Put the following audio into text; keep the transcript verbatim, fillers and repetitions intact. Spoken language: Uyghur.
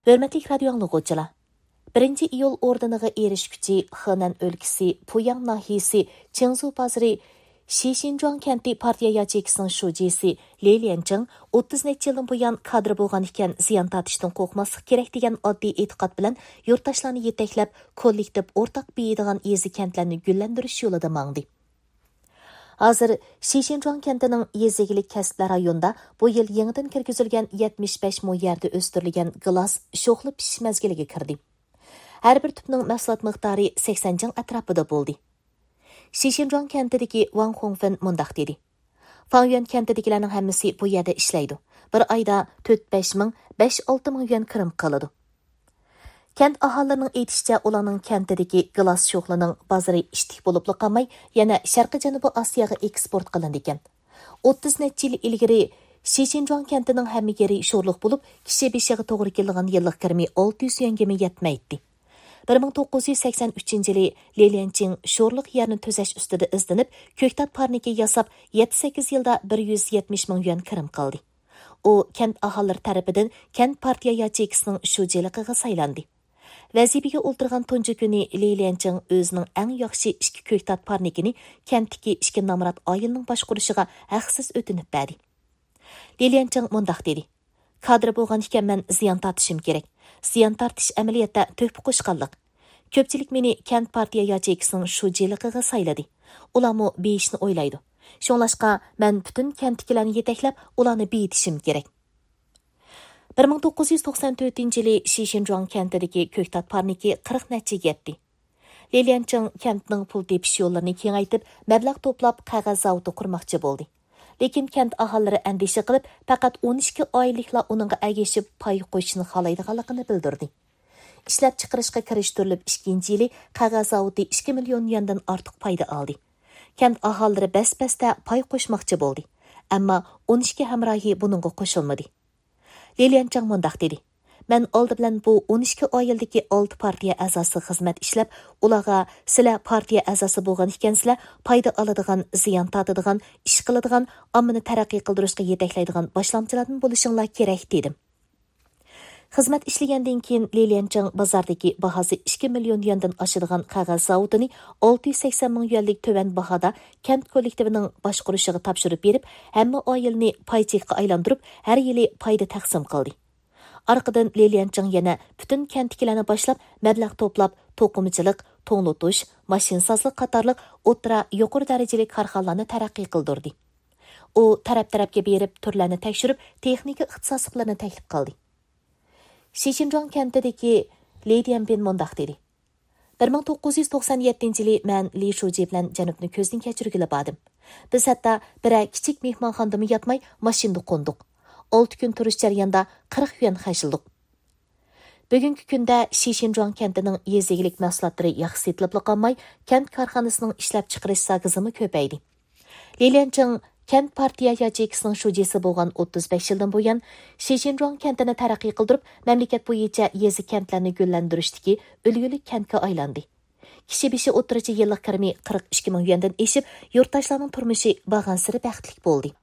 ھۆرمەتلىك رادىيو ئاڭلىغۇچىلار! بىرىنچى ئىيۇل ئوردېنىغا ئېرىشكۈچى خېنەن ئۆلكىسى پۇياڭ ناھىيەسى چىڭزۇ بازىرى شىشىنجۇاڭ كەنتى پارتىيە ياچېيكىسىنىڭ شۇجىسى لى ليەنچىڭ ئوتتۇز نەچچە يىلدىن بۇيان كادىر بولغان ئىكەن، زىيان تارتىشتىن قورقماسلىق كېرەك دېگەن ئاددىي ئېتىقاد بىلەن يۇرتداشلارنى يېتەكلەپ، كوللېكتىپ ئورتاق بېيىيدىغان يېزا كەنتلەرنى گۈللەندۈرۈش يولىدا ماڭدى. ھازىر شىشىنجۇاڭ كەنتىنىڭ يېزا ئىگىلىك كەسىپلەر رايونىدا بۇ يىل يېڭىدىن كىرگۈزۈلگەن يەتمىش بەش مو يەردە ئۆستۈرۈلگەن گىلاس شوخلا پىشىش مەزگىلىگە كىردى. ھەر بىر تۈپنىڭ مەھسۇلات مىقدارى سەكسەن جىڭ ئەتراپىدا بولدى. شىشىنجۇاڭ كەنتىدىكى ۋاڭ خۇڭفېن مۇنداق دېدى: فاڭيۈەن كەنتىدىكىلەرنىڭ ھەممىسى بۇ يەردە ئىشلەيدۇ. بىر ئايدا تۆت بەش مىڭ، بەش ئالتە مىڭ يۈەن كىرىم قىلىدۇ. كەنت ئاھالىلىرىنىڭ ئېيتىشىچە، ئۇلارنىڭ كەنتىدىكى گىلاس شوخلىنىڭ بازىرى ئىتتىك بولۇپلا قالماي، يەنە شەرقىي جەنۇبىي ئاسىياغا ئېكسپورت قىلىنىدىكەن. ئوتتۇز نەچچە يىل ئىلگىرى شىشىنجۇاڭ كەنتىنىڭ ھەممە يېرى شورلۇق بولۇپ، كىشى بېشىغا توغرا كېلىدىغان يىللىق كىرىمى ئالتە يۈز يۈەنگىمۇ يەتمەيتتى. بىر مىڭ توققۇز يۈز سەكسەن ئۈچىنچى يىلى لى ليەنچىڭ شورلۇق يەرنى تۈزەش ئۈستىدە ئىزدىنىپ، كۆكتات پارنىكى ياساپ، يەتتە سەككىز يىلدا بىر يۈز يەتمىش مىڭ يۈەن كىرىم قىلدى. ئۇ كەنت ئاھالىلىرى تەرىپىدىن كەنت پارتىيە ياچېيكىسىنىڭ شۇجىلىقىغا سايلاندى. ۋەزىپىگە ئولتۇرغان تۇنجى كۈنى لى ليەنچىڭ ئۆزىنىڭ ئەڭ ياخشى ئىككى كۆكتات پارنىكىنى كەنتتىكى ئىككى نامرات ئائىلىنىڭ باشقۇرۇشىغا ھەقسىز ئۆتۈنۈپ بەردى. لى ليەنچىڭ مۇنداق دېدى: كادىر بولغان ئىكەنمەن، زىيان تارتىشىم كېرەك. زىيان تارتىش ئەمەلىيەتتە تۆھپە قوشقانلىق. كۆپچىلىك مېنى كەنت پارتىيە ياچېيكىسىنىڭ شۇجىلىقىغا سايلىدى. ئۇلارمۇ بېيىشنى ئويلايدۇ. شۇڭلاشقا، مەن پۈتۈن كەنتتىكىلەرنى يېتەكلەپ، ئۇلارنى بېيىتىشىم كېرەك. بىر مىڭ توققۇز يۈز توقسان تۆتىنچى يىلى شىشىنجۇاڭ كەنتىدىكى كۆكتات پارنىكى قىرىق نەچچىگە يەتتى. لى ليەنچىڭ كەنتنىڭ پۇل تېپىش يوللىرىنى كېڭەيتىپ، مەبلەغ توپلاپ، قەغەز زاۋۇتى قۇرماقچى بولدى. لېكىن كەنت ئاھالىلىرى ئەندىشە قىلىپ، پەقەت ئون ئىككى ئائىلىلىكلا ئۇنىڭغا ئەگىشىپ پاي قوشۇشنى خالايدىغانلىقىنى بىلدۈردى. ئىشلەپچىقىرىشقا كىرىشتۈرۈلۈپ ئىككىنچى يىلى قەغەز زاۋۇتى ئىككى مىليون يۈەندىن ئارتۇق پايدا ئالدى. كەنت ئاھالىلىرى بەس-بەستە پاي قوشماقچى بولدى. ئەمما ئون ئىككى ھەمراھى بۇنىڭغا قوشۇلمىدى. لى ليەنچىڭ مۇنداق دېدى: مەن ئالدى بىلەن بۇ ئون ئىككى ئائىلىدىكى ئالتە پارتىيە ئەزاسىغا خىزمەت ئىشلەپ، ئۇلارغا، سىلەر پارتىيە ئەزاسى بولغان ئىكەنسىلەر، پايدا ئالىدىغان، زىيان تارتىدىغان، ئىش قىلىدىغان، ئاممىنى تەرەققىي قىلدۇرۇشقا يېتەكلەيدىغان باشلامچىلاردىن بولۇشۇڭلار كېرەك، دېدىم. خىزمەت ئىشلىگەندىن كېيىن، لى ليەنچىڭ بازاردىكى باھاسى ئىككى مىليون يۈەندىن ئاشىدىغان قەغەز زاۋۇتىنى ئالتە يۈز سەكسەن مىڭ يۈەنلىك تۆۋەن باھادا كەنت كوللېكتىۋىنىڭ باشقۇرۇشىغا تاپشۇرۇپ بېرىپ، ھەممە ئائىلىنى پاي چېكىغا ئايلاندۇرۇپ، ھەر يىلى پايدا تەقسىم قىلدى. ئارقىدىن لى ليەنچىڭ يەنە پۈتۈن كەنتتىكىلەرنى باشلاپ، مەبلەغ توپلاپ، توقۇمىچىلىق، توڭلىتىش، ماشىنىسازلىق قاتارلىق ئوتتۇرا، يۇقىرى دەرىجىلىك كارخانىلارنى تەرەققىي قىلدۇردى. ئۇ تەرەپ-تەرەپكە بېرىپ، تۈرلەرنى تەكشۈرۈپ، تېخنىكا ئىختىساسلىقلىرىنى تەكلىپ قىلدى. شىشىنجۇاڭ كەنتىدىكى لى ديەنبىن مۇنداق دېدى: بىر مىڭ توققۇز يۈز توقسان يەتتىنچى يىلى مەن لى شۇجى بىلەن جەنۇبنى كۆزدىن كەچۈرگىلى باردىم. بىز ھەتتا بىرەر كىچىك مېھمانخانىدىمۇ ياتماي، ماشىنىدا قوندۇق. ئالتە كۈن تۇرۇش جەريانىدا قىرىق يۈەن خەجلىدۇق. بۈگۈنكى كۈندە شىشىنجۇاڭ كەنتىنىڭ يېزا ئىگىلىك مەھسۇلاتلىرى ياخشى سېتىلىپلا قالماي، كەنت كارخانىسىنىڭ ئىشلەپچىقىرىش زاكىزىمۇ كۆپەيدى. لى ليەنچىڭ كەنت پارتىيە ياچېيكىسىنىڭ شۇجىسى بولغان ئوتتۇز بەش يىلدىن بۇيان، شىشىنجۇاڭ كەنتىنى تەرەققىي قىلدۇرۇپ، مەملىكەت بويىچە يېزا كەنتلەرنى گۈللەندۈرۈشتىكى ئۈلگىلىك كەنتكە ئايلاندى. كىشى بېشى ئوتتۇرىچە يىللىق كىرىمى قىرىق ئىككى مىڭ يۈەندىن ئېشىپ، يۇرتداشلارنىڭ تۇرمۇشى بارغانسېرى بەختلىك بولدى.